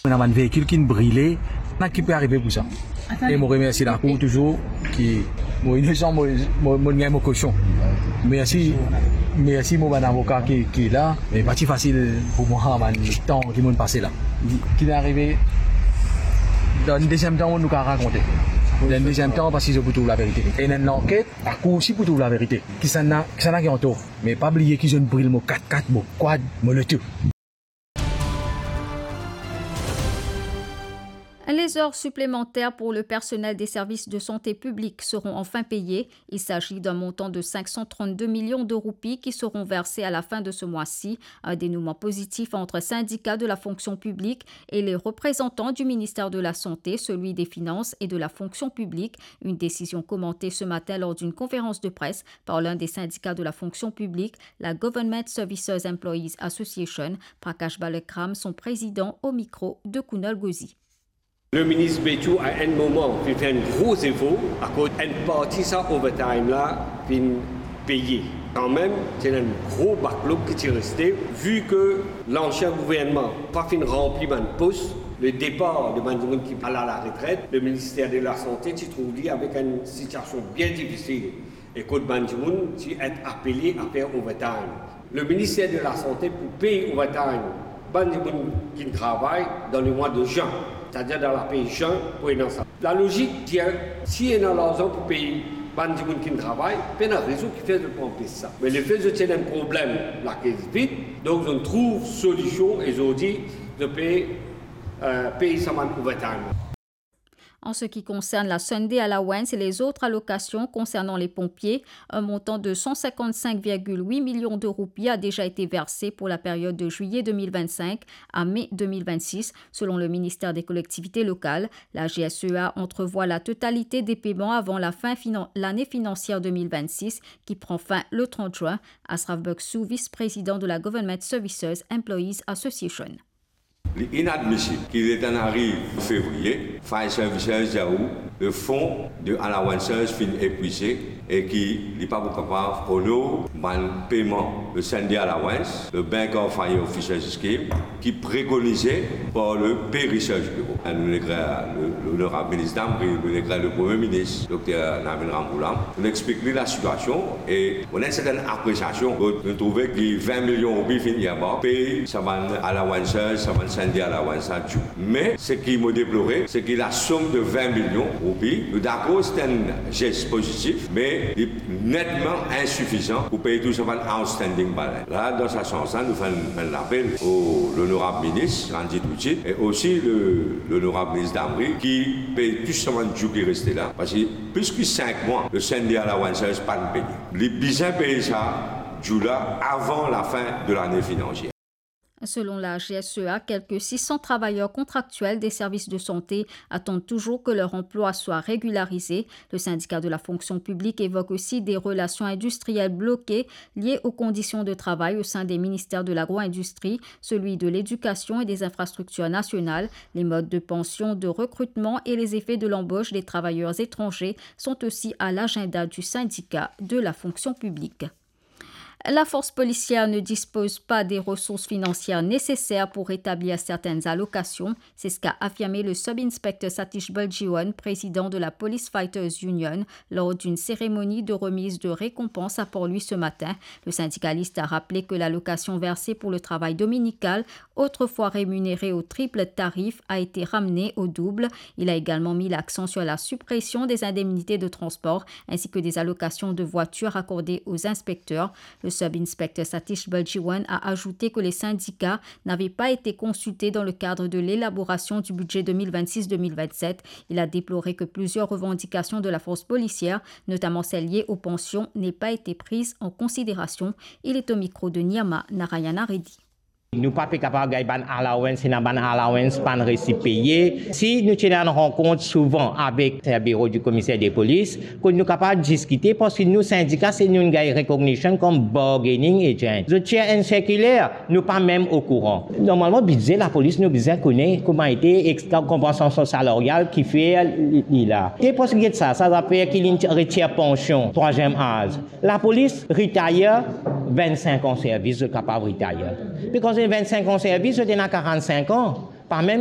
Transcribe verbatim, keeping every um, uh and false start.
Ena bann veikil ki'nn brile, na ki pe arive pou sa. E mo remersi lakour touzour ki mo inosan, mo, mo, mo gagn mo kosion. Mersi, mersi mo bann avoka ki, ki la, me pa ti fasil pou mwa bann tan ki mo'nn pase la. Ki'nn arive, dan enn deziem tan nou kapav rakonte. Dan enn deziem tan, paski zot pou trouv laverite. Ena enn lanket, lakour osi pou trouv laverite. Kisannla, kisannla ki antor. Me pa bliye ki zot inn bril mo kat-kat, mo kwad, mo loto. Les heures supplémentaires pour le personnel des services de santé publics seront enfin payées. Il s'agit d'un montant de cinq cent trente-deux millions de roupies qui seront versées à la fin de ce mois-ci. Un dénouement positif entre syndicats de la fonction publique et les représentants du ministère de la Santé, celui des Finances et de la fonction publique. Une décision commentée ce matin lors d'une conférence de presse par l'un des syndicats de la fonction publique, la Government Services Employees Association, Prakash Balakram, son président, au micro de Kunal Ghosi. Leminister Beychou, a enn moman, finn fer enn gro zefor, akoz enn parti sa overtime la finn peye. Kanmem, ti ena enn gro backlog ki ti reste, vi ki lansien gouvernman pa finn ranpli bann pos, le depar de bann dimoun ki al a laretret, leminister de la Sante ti trouv li avek enn sitiasion bien difisil. E kot bann dimoun ti et apele a fer overtime. Leminister de la Sante pou pey overtime bann dimoun ki'nn travay dan lemwa de zin, setadir dan lapey zin pou ena sa. Lalozik dir, si ena larzan pou pey bann dimoun ki'nn travay, pena rezon kifer zot pou anpes sa. Me lefe zot ti ena enn problem lakes vid, donk zot trouv solision e zordi zot pe, euh, pey sa bann overtime. En ce qui concerne la Sunday Allowance et les autres allocations concernant les pompiers, un montant de cent cinquante-cinq virgule huit millions de roupies a déjà été versé pour la période de juillet deux mille vingt-cinq à mai deux mille vingt-six. Selon le ministère des Collectivités locales, la G S E A entrevoit la totalité des paiements avant la fin finan-, l'année financière deux mille vingt-six, qui prend fin le trente juin. Ashraf Bukshu, vice-président de la Government Services Employees Association. Li inadmisib ki letan nou ariv fevriye, fire services dir ou le fon de allowances finn epwize e ki li pa pou kapav onor bann peyman, le Sunday allowance, le bank of fire officers scheme, ki prekonize par le Pay Research Bureau. Nou lekrir le, Lonorab Minis Damri, nou lekrir le Premie Minis, Dokter Navin Ramgoolam, nou explik li lasitiasion e nou ena enn sertenn apresiasion. Nou trouve ki vin milion roupi finn earmark, pey sa bann allowances, sa bann Sunday allowance sa due. Me seki mo deplore, se ki lasom de vin milion roupi, nou dakor se enn zes pozitif, me li netman insifizan pou pey tou sa bann outstanding balance. La, dan sa sans la, nou fer enn, enn lapel o Lonorab Minis, Ranjit Richie, e osi le, Lonorab Minis Damri, ki pey tou sa bann due ki reste la. Parski plis ki sink mwa, le Sunday allowances pa'nn peye. Li bizin pey sa due la avan lafin de lane finansier. Selon la G S E A, quelques six cents travailleurs contractuels des services de santé attendent toujours que leur emploi soit régularisé. Le syndicat de la fonction publique évoque aussi des relations industrielles bloquées liées aux conditions de travail au sein des ministères de l'agro-industrie, celui de l'éducation et des infrastructures nationales. Les modes de pension, de recrutement et les effets de l'embauche des travailleurs étrangers sont aussi à l'agenda du syndicat de la fonction publique. La force policière ne dispose pas des ressources financières nécessaires pour rétablir certaines allocations. C'est ce qu'a affirmé le sub-inspecteur Satish Baljeewan, président de la Police Fighters Union, lors d'une cérémonie de remise de récompense à Port-Louis ce matin. Le syndicaliste a rappelé que l'allocation versée pour le travail dominical, autrefois rémunérée au triple tarif, a été ramenée au double. Il a également mis l'accent sur la suppression des indemnités de transport ainsi que des allocations de voitures accordées aux inspecteurs. Le sub-inspecteur Satish Baljeewan a ajouté que les syndicats n'avaient pas été consultés dans le cadre de l'élaboration du budget deux mille vingt-six deux mille vingt-sept. Il a déploré que plusieurs revendications de la force policière, notamment celles liées aux pensions, n'aient pas été prises en considération. Il est au micro de Nirma Narayana Reddy. Nou pa pe kapav gagn bann allowance, ena bann allowance pa'nn resi peye. Si nou ti ena enn rankont souvan avek biro di komiser de polis, kot nou kapav diskite, parski nou sindika, se nou gagn recognition kom bargaining agent. Zot tir enn sirkiler, nou pa mem okouran. Normalman, bidze lapolis, nou bizin kone kouma ete, ek konpansasion salarial ki fer li, li la. E parski get sa, sa zafer ki li retir pansion, trwaziem az. Lapolis retire, vennsenk an servis, zot kapav retire. Be kan zot vennsenk an servis, zot ena karannsink an. Pa mem